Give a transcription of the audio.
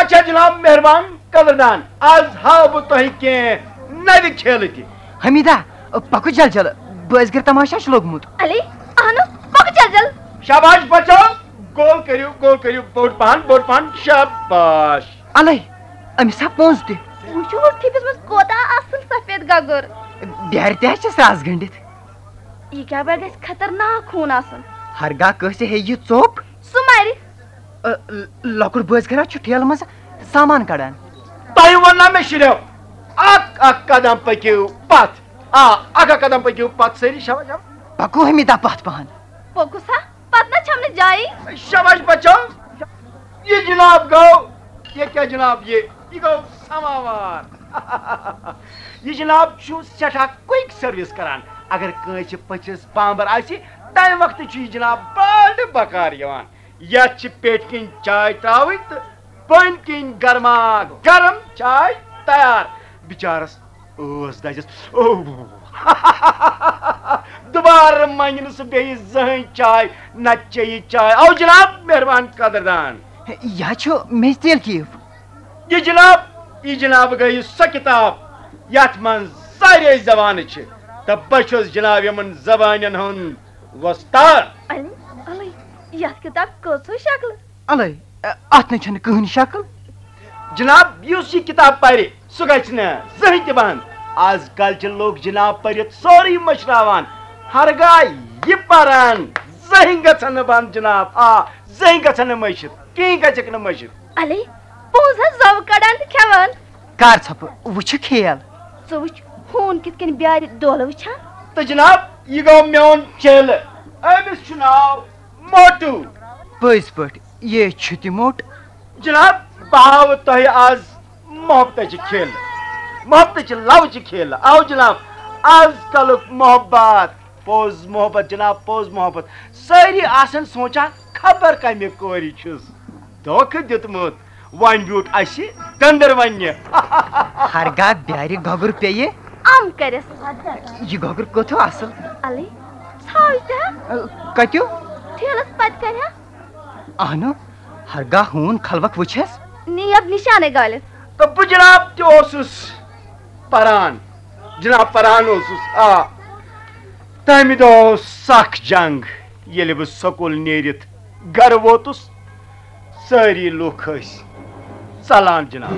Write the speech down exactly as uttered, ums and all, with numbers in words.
اچھا جناب، مہربان قدردان، از ہاو بہٕ تۄہہِ کینٛہہ نوِ کھیلہٕ تہِ۔ حمیدہ، پکو جل جل، بٲزگرِ تماشہ چھُ لوٚگمُت۔ علی، اہنو، پکو جل جل۔ شاباش بچو، گول کٔرِو، گول کٔرِو، بوٚڑ پہن، بوٚڑ پہن، شاباش۔ الے، أمِس ہا پونٛز تہِ۔ وٕچھِو، ٹھیپِس منٛز کوتاہ اصل سفید گگر۔ بیارِ تہِ ہا چھس رس گٔنڈِتھ۔ یہِ کیٛاہ بہ گژھِ خطرناک خوٗن آسُن۔ ہرگاہ کٲنٛسہِ ہیٚیہِ یہِ ژوٚپ۔ سُہ مرِ۔ ٲ، ل-، لۄکُٹ بٲژ گرا چھُ ٹھیلہٕ منٛز سامان کڑان۔ تۄہہِ ووٚن نا مےٚ شُرٮ۪و، اکھ اکھ قدم پٔکِو پتھ۔ آ، اکھ اکھ قدم پٔکِو پتھ سٲری۔ شاباش، شاباش۔ پکو حمیدہ پتھ پہن۔ پوٚکُس ہا، پتہٕ نہ چھم نہٕ جایی۔ شاباش بچو، یہِ جناب گوٚو، یہِ کیٛاہ جناب، یہِ، یہِ گوٚو سماوار۔ یہِ جناب چھُ سٮ۪ٹھاہ quick service کران۔ اگر کٲنٛسہِ پٔژھِس بامبر آسہِ، تمہِ وقتہٕ چھُ یہِ جناب بڑٕ بکار یِوان۔ یتھ چھِ پیٹھۍ کِنۍ چاے ترٛاوٕنۍ تہٕ بٔنۍ کِنۍ گرما گرم چاے تیار۔ بِچارس ٲس دَزٮ۪س۔ اوہ۔ دُبارٕ منٛگہِ نہٕ سُہ بیٚیہِ زٕہٕنۍ چاے، نہ چیٚیہِ چاے۔ او جناب، مہربان قدردان۔ یہِ ہا چھُ میٚژِ تیل کیف۔ یہِ جناب، یہِ جناب گٔیہِ سۄ کِتاب، یَتھ منٛز سارے زبانہٕ چھِ، تہٕ بہٕ چھُس جناب یِمن زبانن ہُنٛد وۄستاد۔ علی، علی، یتھ کتاب کۭژو شکلہٕ؟ الے، اتھ نَے چھَنہٕ کٕہٕنۍ شکل۔ جناب، یُس یہِ کتاب پرِ، سُہ گژھِ نہٕ زٕہٕنۍ تہِ بنٛد۔ از کل چھِ لوٗکھ جناب پٔرِتھ سورُے مٔشراوان۔ ہرگاہ یہِ پرن، زٕہٕنۍ گژھن نہٕ بنٛد جناب۔ آ، زٕہٕنۍ گژھن نہٕ مٔشِتھ، کِہیٖنۍ گژھٮ۪کھ نہٕ مٔشِتھ۔ علی، پونٛز ہا زَو کڑان تہٕ کھٮ۪وان۔ کر ژھۄپہٕ، وٕچھِ کھیل۔ ژٕ وٕچھ، ہوٗن کِتھ کٔنۍ بیارِ دولہٕ وٕچھان۔ تہٕ جناب، یہِ گوٚو میون چیلہٕ۔ أمِس چھُ ناو موٹو۔ پٔزۍ پٲٹھۍ، یے چھُ تہِ موٚٹ۔ جناب، بہٕ ہاوٕ تۄہہِ آز محبتٕچہِ کھیلہٕ۔ محبتٕچہِ لَوچہِ کھیلہٕ۔ آو جناب، آز کلُک محبت، پوٚز محبت جناب، پوٚز محبت۔ سٲری آسن سونٛچان، خبر کمہِ کورِ چھُس دھوکہٕ دیُتمُت۔ وۄنۍ بیوٗٹھ اسہِ دٔنٛدٕر وننہِ۔ ہرگاہ بیارِ گۄگُر پیٚیہِ۔ ام کرٮ۪س۔ یہِ گۄگُر کوٚت ہیوٗ اصل؟ الے، ژھاو تہِ ہا۔ کتیو؟ ٹھیلس پتہٕ کنہِ ہا۔ اہنو، ہرگاہ ہوٗن خلوق وٕچھس۔ نیب نشانے گٲلِتھ۔ تہٕ بہٕ جناب تہِ اوسُس پران۔ جناب پران اوسُس، آ۔ تمہِ دۄہ اوس سخ جنگ۔ ییٚلہِ بہٕ سکوٗل نیٖرِتھ گرٕ ووتُس، سٲری لوٗکھ ٲسۍ ژلان جناب۔